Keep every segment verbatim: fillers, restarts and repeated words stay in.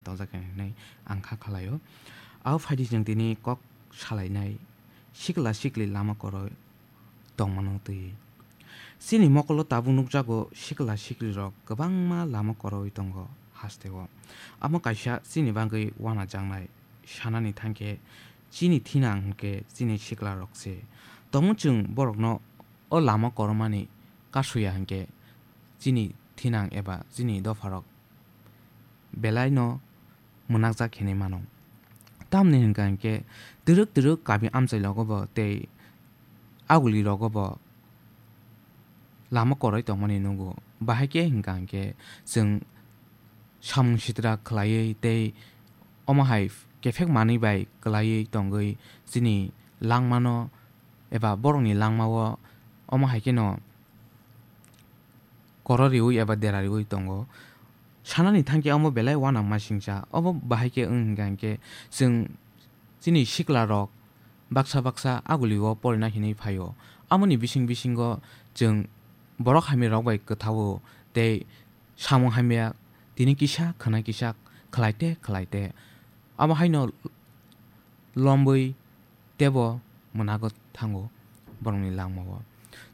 tongjak hinwi ang kha khalai-o. Abo phaidi chwng tini kok salainai sikla sikli lama koroi tongmano twi. Chini mokolo tabuk nukjago sikla siklirok kwbangma lama koroi tongo hasteo. Amo kaisa chini bagwi wanajaknai sanani thangkhe chini thinang hinkhe chini siklarok se. Tongmung chwng borokno o lama koromani kasuya hinkhe chini thinang eba chini dopharok belai no mwnakjak hinwi mano. Tamni hwnka hinkhe twrwk twrwk kami amchai rogo bo tei aguli rogo bo lama koroi tongmani nugo. Bahai khe hwnka hinkhe chwng samung sitra khlaiwi tei omo hai kephek manwi bai kwlaiwi tongwi chini langmano eba borokni langmao omo hai kheno koro riwi eba dera riwi tongo. Sanani thangkhe omo belai uanama singcha. Obo bahai khe wng hwnka hinkhe chwng chini siklarok baksa baksa agulio porina hinwi phaio. Amoni bising bisingo chwng borok hamya rok bai kwthao tei samung hamya tini kisa khwna kisa khlaite khlaite. Abo haino lombwi tebo mwnago thango borokni langmao.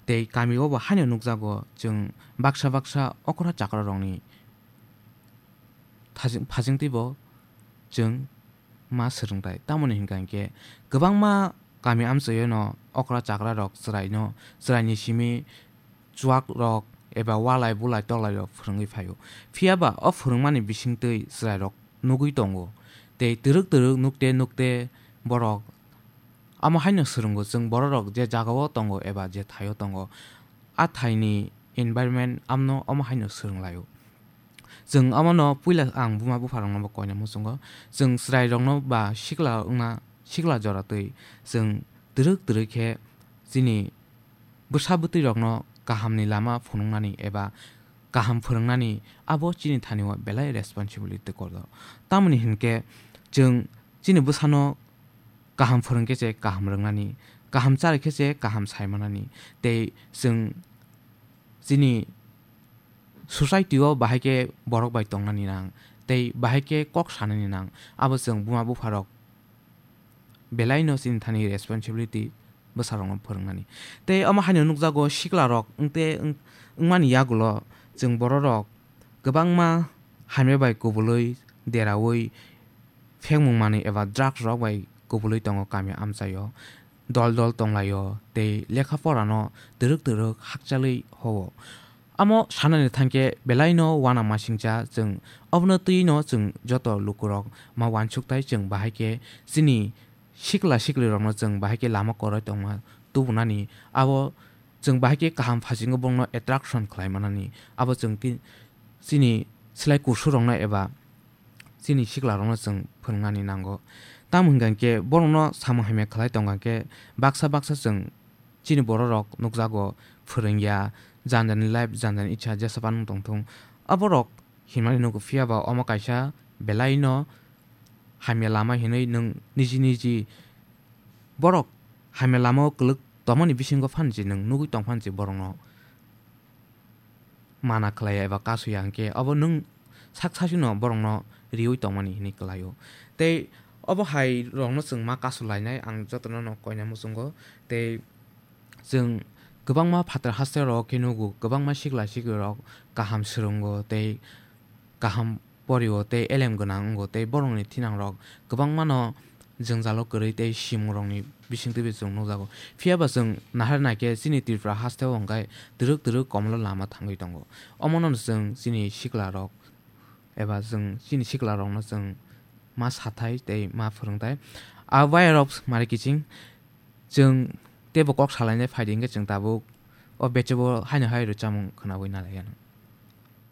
Tei kamio bo haino nukjago chwng baksa baksa okra chakra rokni thajing-, phajingtwi bo chwng ma swrwngtai. Tamoni hwnka hinkhe kwbangma kami amchaio no okra chakra rok chwraino, chwraini simi chuak rok eba walai bulai toklai rok phwrwngwi phaio. Phiya ba o phwrwngmani bisingtwi chwrai rok nugwi tongo. Tei twrwk twrwk nukte nukte borok amo haino swrwngo, chwng bororok je jagao tongo eba je thaio tongo, a thaini environment amno omo haino swrwnglaio. Chwng omono puila ang buma bupharokno bo koina muchungo. Chwng chwrairokno ba sikla wngna, sikla jora twi chwng twrwk twrwk khe chini bwsa bwtwi rokno kahamni lama phunuknani eba kaham phwrwngnani abo chini thani o belai responsibility kotor. Tamoni hinkhe chwng chini bwsano kaham phwrwngkhe se kaham rwngnani, kaham charwkhe se kaham saimanani, tei chwng chini society o bahai khe borok bai tongnani nang, tei bahai khe kok sanani nang, abo chwng buma bupharok belaino chini thani responsibility bwsarokno phwrwngnani. Tei omo haino nukjago siklarok wngte wng-, wngmani yagulo chwng bororok kwbangma hamya bai kubului deraui phengmung manwi eba drugs rok bai kubului tongo kami amchaio. Dol dol tonglaio tei lekha porano twrwk twrwk hakchalwi ho-o. Amo sanani thangkhe belaino uanamasingcha chwng obono twino chwng joto lukurok ma uansukthai chwng bahai khe chini sikla siklirokno chwng bahai khe lama koroi tongma tubunani abo chwng bahai khe kaham phasingo bongno attraction khlai manani abo chwng ti-, chini slai kusurokno eba chini siklarokno chwng phwrwngnani nango. Tamo hwnkha khe borokno samung hamya khlai tongkha khe baksa baksa chwng chini bororok nukjago phwrwngya, jani jani life, jani jani icha jesa phano tongthung. Aborok himnani nugo, phiya ba omo kaisa belaino hamya lama hinwi nwng niji niji borok hamya lama o kwlwk tongmani bisingo phansi nwng nugwi tong phansi borokno mana khlaiya eba kasuya, hinkhe obo nwng sak sasino borokno riwi tongmani hinwi kwlaio. Tei obo hai rokno chwng ma kasu lainai, ang jotono no koina muchungo. Tei chwng kwbangma phatar haste rok khe nugo, kwbangma sikla sikli rok kaham swrwngo tei kaham porio tei elem gwnang wngo tei borokni thinangrok kwbangmano jwngjalo kwrwi tei simungrokni bisingtwibo chwng nukjago. Phiya ba chwng nahar naikhe chini Tripura hasteo hwnkhe twrwk twrwk komolo lama thangwi tongo. Omono chwng chini siklarok eba chwng chini siklarokno chwng ma sathai tei ma phwrwngthai. A wire of mari kiching chwng teibo kok salainai phaidi hwnkhe chwng tabuk o bechobo haino hai rwchapmung khwnawi nalaikha.